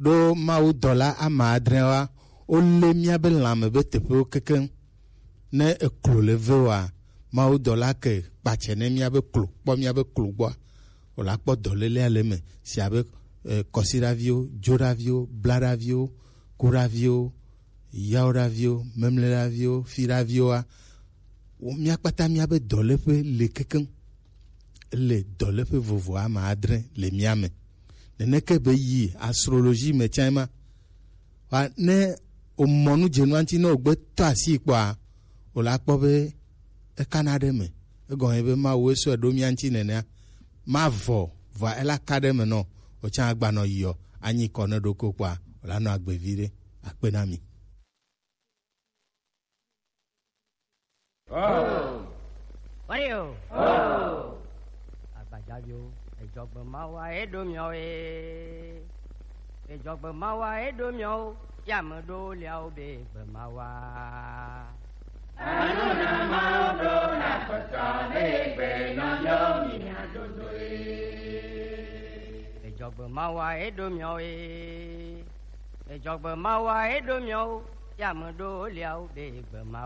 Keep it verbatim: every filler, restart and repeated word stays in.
Ɖo Mawu dɔla ama adre wa, wolé míabe lãme be teƒewo kekeŋ. Ne eklo le ve wa, Mawu dɔla ke kpatsɛ ne míabe klo, kpɔ míabe klo gbɔa, wòla kpɔ dɔlélea le eme, si abe eh, kɔsiɖaviwo, dzoɖaviwo, blaɖaviwo, kuɖaviwo, yawoɖaviwo, memleɖaviwo, fiɖaviwoa, wo mía kpata míabe dɔléƒe le kekeŋ. Le dɔléƒe vovo ama adre le mía me. Neneke be yi astrologie me tsã ma. Wa ne o mɔ nu dze nua ŋuti ne o gbe tɔ asi kpɔa, o la kpɔ be e kana ɖe me. Egɔme be Mawu e sɔe ɖo mía ŋuti nenea. Ma vɔ, vɔa e la ka ɖe me nɔ, o tsã agba nɔ yiɔ, anyi kɔ ne ɖoko kpɔa, o la nɔ agbe vi ɖe. Akpe na mi. Wario. Agbajaviwo, edzɔgbe mawa eɖo miawo ye. Edzɔgbe mawa eɖo miawo, ya me ɖo liawo be gbe mawa. Anu na mawo ɖo na kpɔtɔ be gbe nɔ miawo mi na dodo ye. Edzɔgbe mawa eɖo miawo ye. Edzɔgbe mawa eɖo miawo, ya me ɖo liawo be gbe ma.